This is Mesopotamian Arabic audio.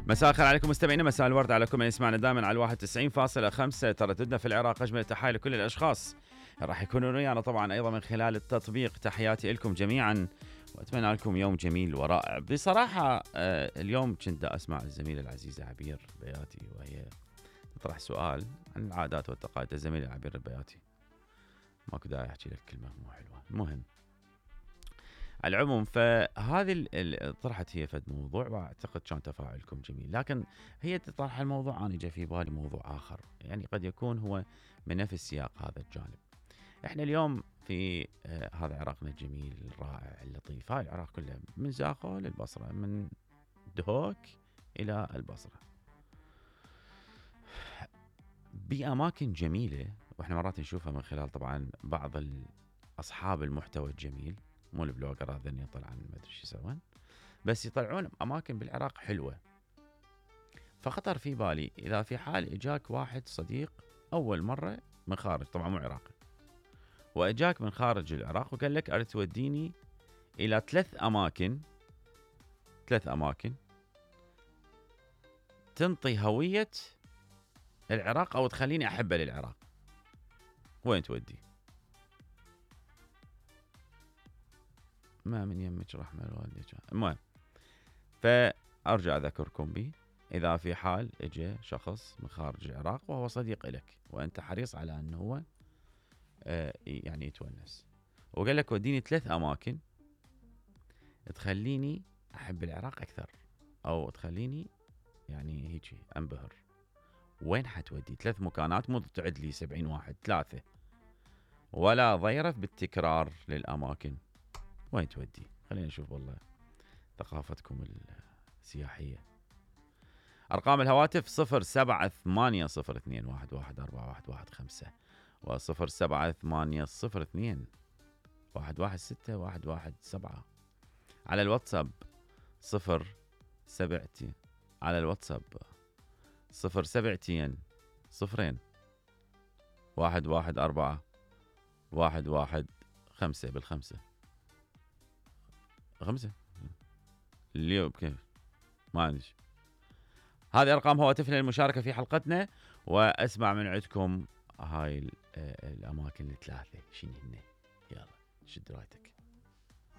مساء الخير عليكم مستمعينا، مساء الورد عليكم من يسمعنا دائما على 91.5 ترددنا في العراق. اجمل التحايا لكل الاشخاص راح يكونون ويانا طبعا ايضا من خلال التطبيق. تحياتي لكم جميعا واتمنى لكم يوم جميل ورائع. بصراحه اليوم كنت اسمع الزميله العزيزه عبير بياتي وهي تطرح سؤال عن العادات والتقاليد. الزميله عبير البياتي ماكو داعي احكي لك كلمه مو حلوه. المهم على العموم فهذه طرحت هي فد موضوع واعتقد كان تفاعلكم جميل، لكن هي تطرح الموضوع انا جاء في بالي موضوع اخر، يعني قد يكون هو من نفس سياق هذا الجانب. احنا اليوم في هذا عراقنا الجميل الرائع اللطيف، هاي العراق كله من زاخو للبصره، من دهوك الى البصره، باماكن جميله، واحنا مرات نشوفها من خلال طبعا بعض اصحاب المحتوى الجميل، مو البلوجر هذين يطلعون ما ادري شو يسوون، بس يطلعون اماكن بالعراق حلوه. فخطر في بالي اذا في حال اجاك واحد صديق اول مره من خارج، طبعا مو عراقي، واجاك من خارج العراق وقال لك اريد توديني الى ثلاث اماكن تنطي هويه العراق او تخليني احبه للعراق، وين تودي؟ ما من يمك رحمه الوالديك. المهم فارجع اذكركم به، اذا في حال اجى شخص من خارج العراق وهو صديق لك وانت حريص على انه هو يعني يتونس، وقال لك وديني ثلاث اماكن تخليني احب العراق اكثر او تخليني يعني هيك انبهر، وين حتودي؟ ثلاث مكانات، مو تعد لي 70 واحد، ثلاثه، ولا ضيرف بالتكرار للاماكن، وين تودي؟ خلينا نشوف والله ثقافتكم السياحيه. ارقام الهواتف 0780211415 و0780211617 على الواتساب 07 على الواتساب 07 0 114 115 بالخمسة 5 اليوم كيف ما عندي. هذه ارقام هواتفنا للمشاركه في حلقتنا، واسمع من عندكم هاي الاماكن الثلاثه شنو هن. يلا شد رايتك.